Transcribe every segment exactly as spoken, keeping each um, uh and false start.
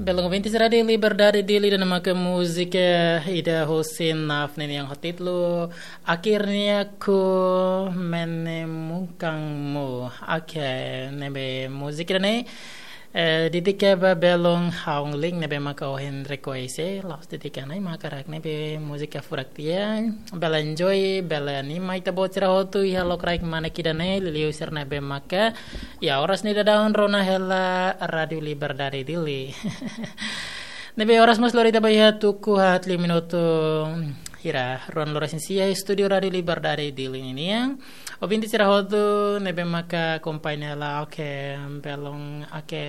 Belun ouvinte sira, Rádiu Liberdade Dili ida-ne'e maka múzika ida husi Naf nian ho títulu Akhirnya Ku Menemukanmu. Oke, ne'ebé múzika ida-ne'e, eh, dedika ba belun Haung Ling ne'ebé maka ohin rekuesta, la'ós dedika ona, mak hakarak ne'ebé múzika furak tiha, bele enjoy, bele anima ita-boot sira hotu iha lokraik mane ida-ne'e, liuliu sira ne'ebé maka iha oras ne'e daudaun rona hela Rádiu Liberdade Dili. Ne'ebé oras mós lori tiha ba iha tuku haat liu minutu hira ruanulu-resin-sia estúdiu Rádiu Liberdade Dili ninian. Ouvinte sira hotu ne'ebé maka akompaña hela, oke, belun, oke,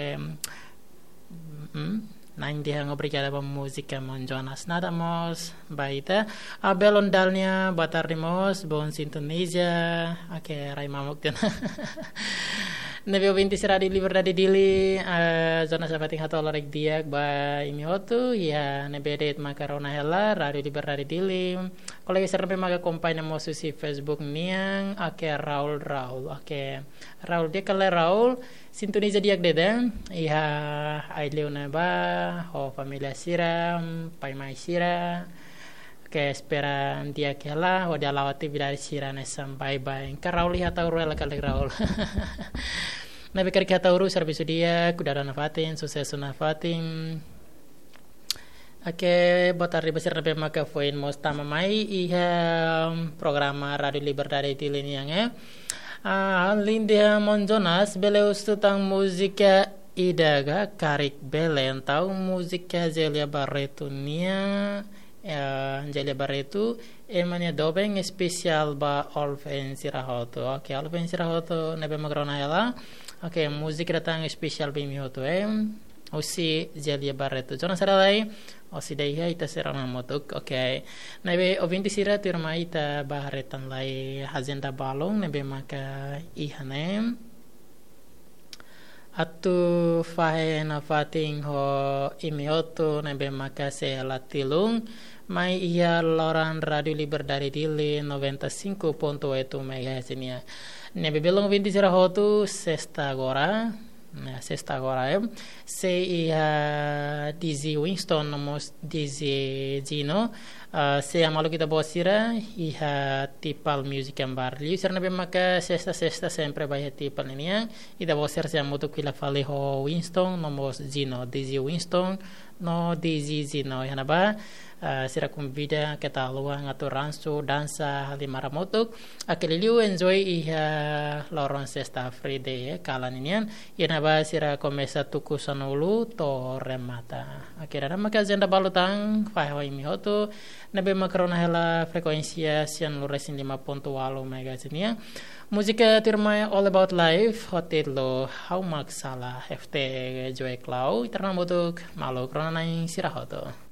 mm, na'in dehan obrigada ba múzika maun Jonas. Nada mós ba ita. Ah, belun Dalnia, boa tarde mós, bom sintoniza. Oke, rai mamuk tiha ona. Ne'ebé ouvinte sira Rádiu Liberdade Dili, ah, Jonas Sabatin hato'o laran di'ak ba imi hotu, iha ne'ebé de'it maka rona hela Rádiu Liberdade Dili. Kolega sira ne'ebé maka akompaña mós husi Facebook nian, oke, Raul, Raul, oke. Raul, di'ak ka lae Raul, sintoniza di'ak de'it, eh? Iha ai-liu ne'ebá, ho família sira, pai mai sira. Oke, espera di'ak hela, hodi hala'o atividade sira hanesan baibain. Ka Raul iha Ataúro hela ka lae Raul? Ne'ebé karik iha Ataúro, servisu di'ak, kuidadu nafatin, susesu nafatin. Oke, boa tarde ba sira ne'ebé maka foin mós tama mai iha programa Rádiu Liberdade Dili nian, eh. Ah, alin dehan maun Jonas, bele husu tan múzika ida ka karik bele, entaun múzika Zélia Barreto nian, eh, Zélia Barreto, Ema nia Doben, espesiál ba all fans sira hotu. Oke, all fans sira hotu ne'ebé maka rona hela. Oke, múzika ida tan espesiál ba imi hotu, eh. Husi Zélia Barreto. Jonas sira lai, osi dei iha ita sira hamutuk. Oke. Ne'ebé ouvinte sira, tuirmai ita ba haree tan lai ajenda balun ne'ebé maka iha ne'e. Atu fahe nafatin ho imi hotu ne'ebé maka sei la tilun mai iha loron Rádiu Liberdade Dili noventa e cinco ponto oito megahertz nian. Ne'ebé belun ouvinte sira hotu, sesta agora, ne'e, sesta agora, eh, sei iha D J Winston no mós D J Gino, ah, sei hamaluk ita-boot sira iha Tipal Music and Bar. Liu sira ne'ebé maka sesta, sesta sempre ba iha Tipal ninian, ita-boot sira sei hamutuk fila fali ho Winston no mós Gino, D J Winston no D J Gino. Iha ne'ebá, ah, sira konvida keta haluha atu ransu, dansa, halimar hamutuk. Oke, liuliu enjoy iha loron sesta, free day, eh, kalan ninian. Iha ne'ebá sira komesa tuku sanulu to'o remata. Oke, ida-ne'e maka ajenda balu tan, fahe ho imi hotu ne'ebé maka rona hela frekuénsia sianulu-resin-lima ponto ualu megahertz nian. Múzika tuirmai All About Life, ho títulu Ha'u Mak Sala, F T Joe Clau, ita rona hamutuk, maluk rona-na'in sira hotu.